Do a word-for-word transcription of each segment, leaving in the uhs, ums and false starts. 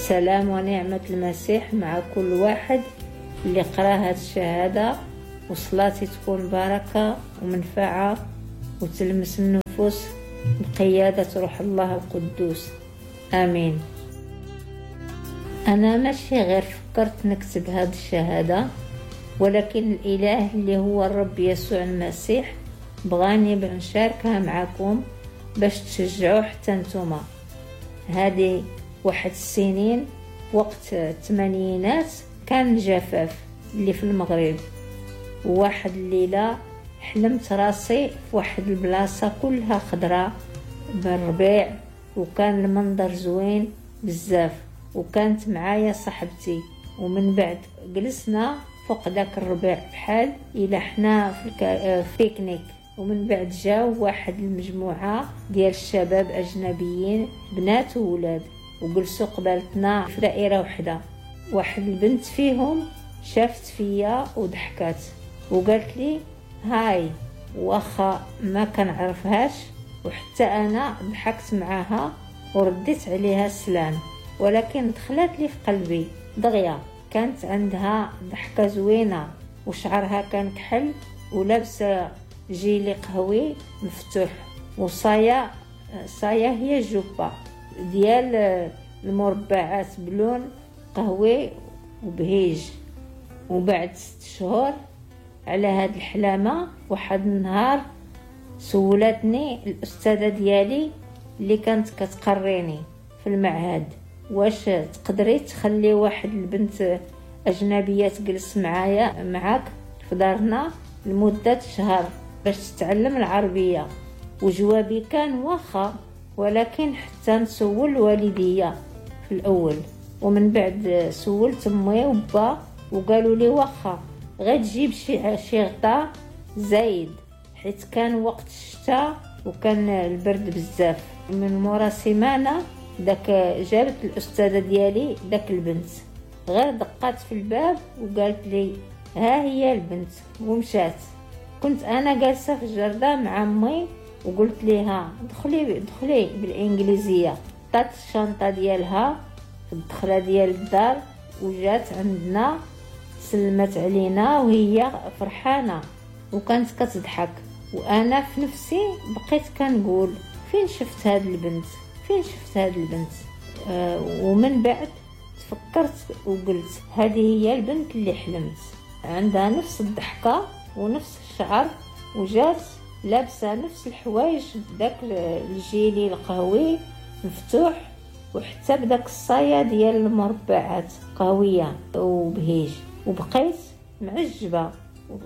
سلام ونعمة المسيح مع كل واحد اللي قرأ هاد الشهادة، وصلاتي تكون بركة ومنفعة وتلمس النفوس بقيادة روح الله القدوس. آمين. أنا ماشي غير فكرت نكتب هاد الشهادة، ولكن الإله اللي هو الرب يسوع المسيح بغاني نشاركها معكم باش تشجعوا حتى نتوما. هذه واحد السنين وقت الثمانينات كان الجفاف اللي في المغرب، وواحد الليلة حلمت راسي في واحد البلاصة كلها خضراء بالربيع، وكان المنظر زوين بزاف، وكانت معايا صاحبتي. ومن بعد جلسنا فوق داك الربيع بحال إلا حنا في الك... في بيكنيك. ومن بعد جاو واحد المجموعة ديال الشباب أجنبيين، بنات وولاد، وجلسوا قبالتنا في دائرة وحدة. واحد البنت فيهم شافت فيا وضحكات وقالت لي hi، واخا ما كنعرفهاش، وحتى انا ضحكت معاها ورديت عليها السلام، ولكن دخلت لي في قلبي دغيا. كانت عندها ضحكة زوينة وشعرها كان كحل ولابسة gilet قهوي مفتوح، وصايا صايا هي جوبة ديال المربعات بلون قهوي وبهيج. وبعد ست شهور على هاد الحلامة، واحد النهار سولتني الأستاذة ديالي اللي كانت كتقريني في المعهد، واش تقدري تخلي واحد البنت أجنبية تجلس معايا معاك في دارنا لمدة شهر باش تتعلم العربية؟ وجوابي كان واخا، ولكن حتى نسول والديا في الأول. ومن بعد سولت امي وبا وقالوا لي واخا، غير تجيب شي شي غطاء زايد، حيت كان وقت الشتاء وكان البرد بزاف. من مورا سيمانه داك جابت الاستاذة ديالي داك البنت، غير دقات في الباب وقالت لي ها هي البنت، ومشات. كنت انا جالسة في الجرده مع امي وقلت ليها دخلي دخلي بالانجليزية. عطات الشنطة ديالها في الدخلة ديال الدار وجات عندنا، سلمت علينا وهي فرحانة وكانت كتضحك. وانا في نفسي بقيت كنقول فين شفت هاد البنت، فين شفت هاد البنت. آه ومن بعد تفكرت وقلت هذه هي البنت اللي حلمت، عندها نفس الضحكة ونفس الشعر، وجات لابسه نفس الحوايج، داك الجيلي القهوي مفتوح، وحتى بداك الصايه ديال المربعات قهويه وبهيج. وبقيت معجبه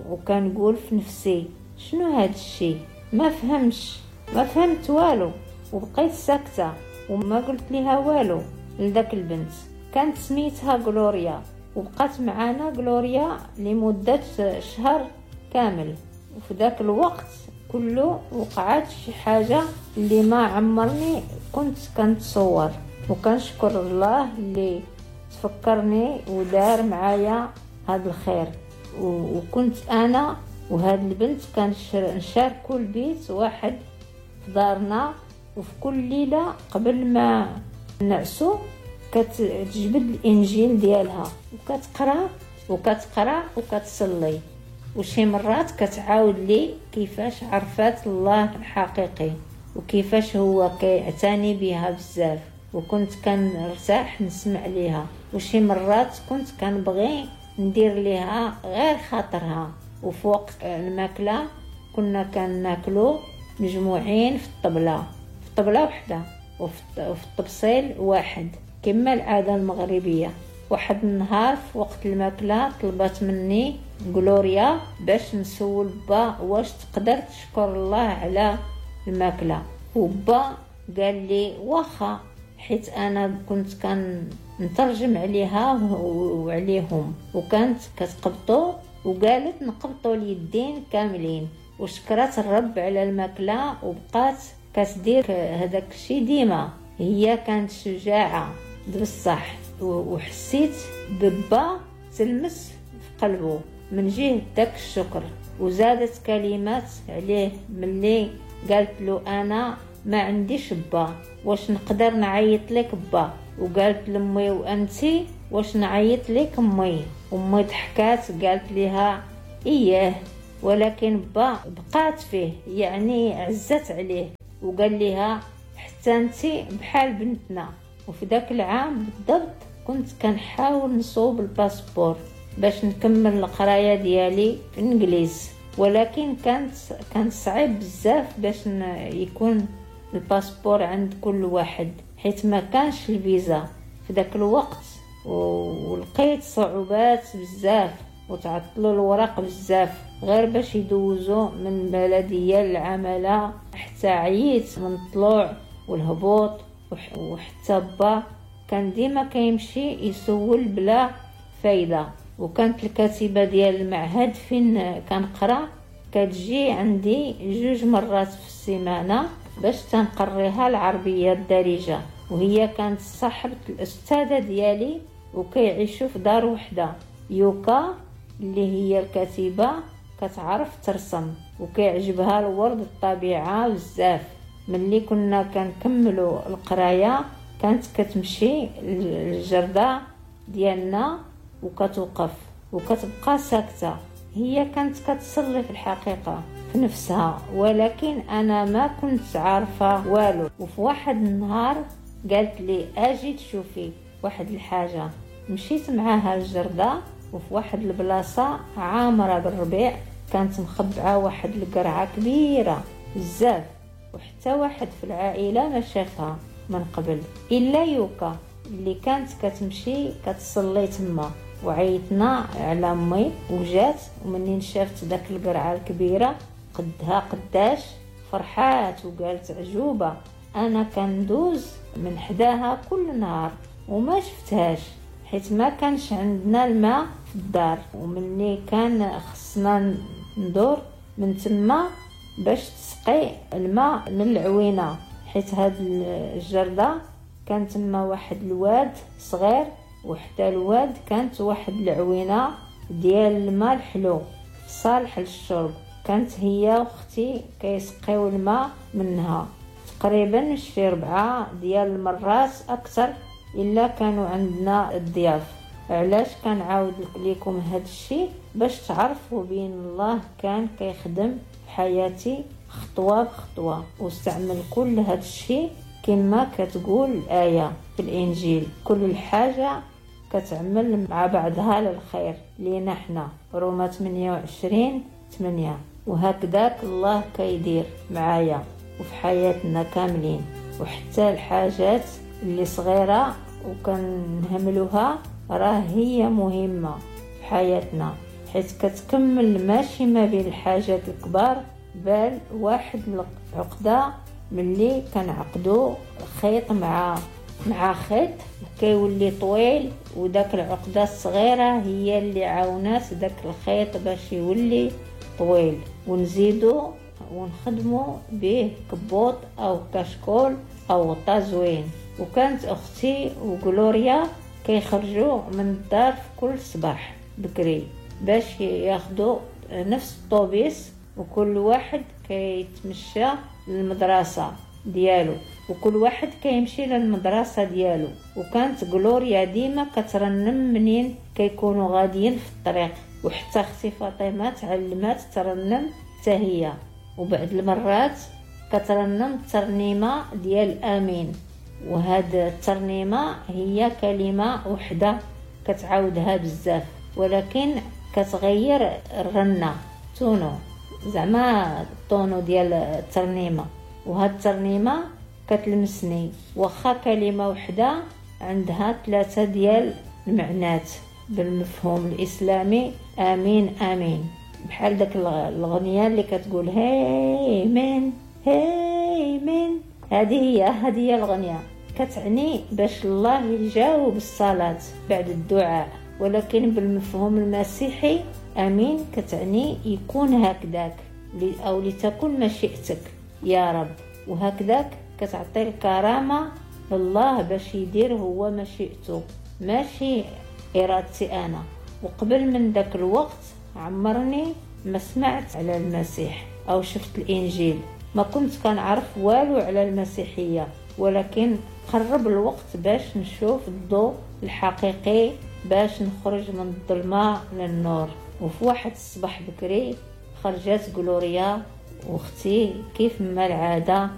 وكنقول في نفسي شنو هاد الشيء، ما فهمش ما فهمت والو. وبقيت ساكته وما قلت لها والو لذاك البنت. كانت سميتها غلوريا، وبقات معانا غلوريا لمدة شهر كامل. وفي ذاك الوقت كله وقعت شي حاجة اللي ما عمرني كنت كنتصور، وكنشكر الله اللي تفكرني ودار معايا هاد الخير. وكنت انا وهاد البنت كنشاركوا البيت واحد في دارنا، وفي كل ليلة قبل ما نعسو كتجبد الانجيل ديالها وكتقرا وكتقرا وكتصلي، وشي مرات كتعاود لي كيفاش عرفات الله الحقيقي وكيفاش هو كيعتني بها بزاف، وكنت كنرتاح نسمع ليها. وشي مرات كنت كنبغي ندير ليها غير خاطرها. وفي وقت الماكلة كنا كناكلو مجموعين في الطبلة، في طبله وحده وفي الطبسيل واحد كما العادة المغربية. واحد النهار في وقت الماكلة طلبت مني غلوريا باش نسول با واش تقدر تشكر الله على الماكلة، وبا قال لي واخا، حيت انا كنت كنترجم عليها وعليهم، وكانت كتقبطو وقالت نقبطو اليدين كاملين. وشكرت الرب على الماكلة وبقات كتدير هذاك الشيء ديما. هي كانت شجاعة بصح، وحسيت ببا تلمس في قلبه من جهة داك الشكر. وزادت كلمات عليه ملي قالت له انا ما عنديش با، واش نقدر نعيط لك با؟ وقالت لامي وانتي واش نعيط لك امي؟ امي ضحكات قالت لها اياه، ولكن با بقات فيه يعني عزت عليه وقال لها حتى انتي بحال بنتنا. وفي ذاك العام بالضبط كنت كنحاول نصوب ال passeport باش نكمل القراية ديالي في الانجليز، ولكن كانت كان صعيب بزاف باش يكون ال passeport عند كل واحد حيت ما كانش الفيزا في ذاك الوقت، ولقيت صعوبات بزاف وتعطلوا الوراق بزاف غير باش يدوزوا من بلديه للعماله، حتى عييت من الطلوع والهبوط. وحتى با كان ديما كيمشي يسول بلا فايده. وكانت الكاتبة ديال المعهد فين كنقرا كتجي عندي جوج مرات في السيمانة باش تنقريها العربية الدارجة، وهي كانت صاحبه الاستاذة ديالي وكيعيشوا في دار وحده. يوكا اللي هي الكاتبة كتعرف ترسم وكيعجبها الورد الطبيعة بزاف. ملي كنا كنكملوا القراية كانت كتمشي للجرده ديالنا وكتوقف وكتبقى ساكته. هي كانت كتصلي في الحقيقة في نفسها، ولكن انا ما كنت عارفه والو. وفي واحد النهار قالت لي اجي تشوفي واحد الحاجة. مشيت معاها الجرده، وفي واحد البلاصة عامرة بالربيع كانت مخبعه واحد القرعة كبيرة بزاف، وحتى واحد في العائلة ما شافها من قبل الا يوكا اللي كانت كتمشي كتصلي تما. وعيطنا على امي وجات، ومنين شافت داك القرعة الكبيرة قدها قداش فرحات وقالت عجوبه، انا كندوز من حداها كل نهار وما شفتهاش حيت ما كانش عندنا الماء في الدار، ومني كان خصنا ندور من تما باش تسقي الماء من العوينة، حيت هاد الجرده كان تما واحد الواد صغير، وحتى الواد كانت واحد العوينة ديال الماء الحلو صالح للشرب. كانت هي واختي كيسقيو الماء منها تقريبا شي ربعه ديال المرات اكثر الا كانوا عندنا الضياف. علاش كنعاود لكم هاد الشيء؟ باش تعرفوا بين الله كان كيخدم في حياتي خطوة بخطوة، واستعمل كل هاد الشيء كما كتقول الايه في الانجيل، كل الحاجة كتعمل مع بعضها للخير لينا حنا، روما ثمانية وعشرين ثمانية. وهكذاك الله كيدير معايا وفي حياتنا كاملين، وحتى الحاجات اللي صغيرة وكنهملوها راه هي مهمة في حياتنا، حيت كتكمل ماشي ما بين الحاجات الكبار بل واحد العقدة. ملي كنعقدو خيط مع مع خيط كيولي طويل، وداك العقدة الصغيرة هي اللي عاونات داك الخيط باش يولي طويل، ونزيدو ونخدمو به كبوط او كشكول او غطا زوين. وكانت اختي وغلوريا كيخرجوا من الدار في كل صباح بكري باش ياخدوا نفس الطوبيس، وكل واحد كيتمشى للمدرسة ديالو، وكل واحد كيمشي للمدرسة ديالو. وكانت غلوريا ديما كترنم منين كيكونوا غاديين في الطريق، وحتى اختي فاطمة تعلمات ترنم حتى هي، وبعد المرات كترنم الترنيمة ديال امين. وهاد الترنيمة هي كلمة وحده كتعاودها بزاف، ولكن كتغير الرنه tono، زعما ال tono ديال الترنيمة. وهاد الترنيمة كتلمسني، واخا كلمة وحده عندها ثلاثة ديال المعنات بالمفهوم الاسلامي، امين امين، بحال داك الغنية اللي كتقول هاي من هاي من، هذه هي هذه هي الغنية، كتعني باش الله يجاوب الصلاة بعد الدعاء. ولكن بالمفهوم المسيحي امين كتعني يكون هكذاك او لتكن مشيئتك يا رب، وهكذاك كتعطي الكرامة لله باش يدير هو مشيئته ماشي ارادتي انا. وقبل من داك الوقت عمرني ما سمعت على المسيح او شفت الانجيل، ما كنت كنعرف والو على المسيحية، ولكن قرب الوقت باش نشوف الضوء الحقيقي، باش نخرج من الظلمة للنور. وفي واحد الصباح بكري خرجت غلوريا واختي كيف ما العادة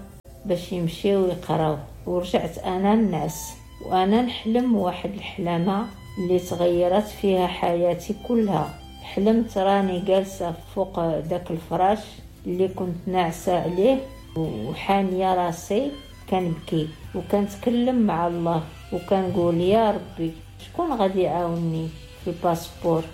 باش يمشيو يقراو، ورجعت انا نعس وانا نحلم واحد الحلمة اللي تغيرت فيها حياتي كلها. حلمت راني جالسة فوق داك الفراش اللي كنت ناعسه عليه وحانيه راسي كنبكي وكنتكلم مع الله وكنقول يا ربي شكون غادي يعاونني في ال passeport،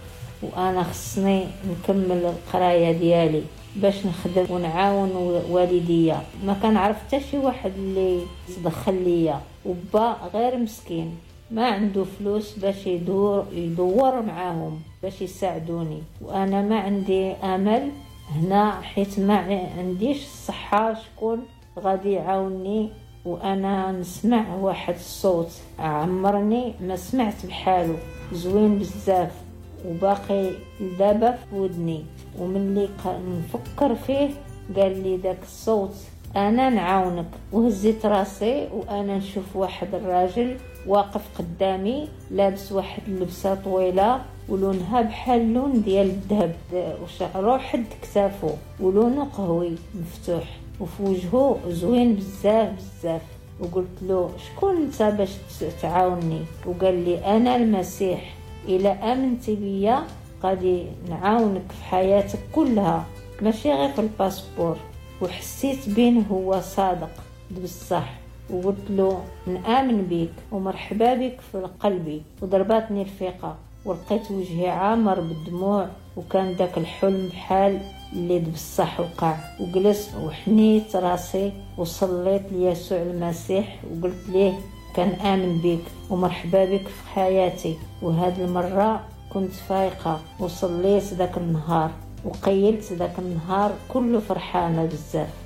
وانا خصني نكمل القراية ديالي باش نخدم ونعاون والديا. ما كنعرف حتى شي واحد اللي تدخل ليا، وبا غير مسكين ما عنده فلوس باش يدور يدور معاهم باش يساعدوني، وانا ما عندي امل هنا حيت ما عنديش الصحة، شكون غادي يعاونني؟ وانا نسمع واحد الصوت عمرني ما سمعت بحاله، زوين بزاف وباقي دابا في ودني، وملي نفكر فيه قال لي داك الصوت انا نعاونك. وهزيت راسي وانا نشوف واحد الراجل واقف قدامي لابس واحد اللبسه طويلة ولونها بحال اللون ديال الذهب، وشعره حد كتافو ولونه قهوي مفتوح، وفي وجهه زوين بزاف بزاف. وقلت له شكون انت باش تعاونني؟ وقال لي انا المسيح، الا امنتي بيا غادي نعاونك في حياتك كلها ماشي غير في ال passeport. وحسيت بين هو صادق بصح، وقلت له نآمن بيك ومرحبا بك في قلبي. وضرباتني الفيقة ولقيت وجهي عامر بالدموع، وكان داك الحلم بحال اللي بصح وقع. وجلست وحنيت راسي وصليت ليسوع المسيح وقلت ليه كنآمن بك ومرحبا بك في حياتي. وهاد المرة كنت فايقة وصليت ذاك النهار وقيلت ذاك النهار كله فرحانة بزاف.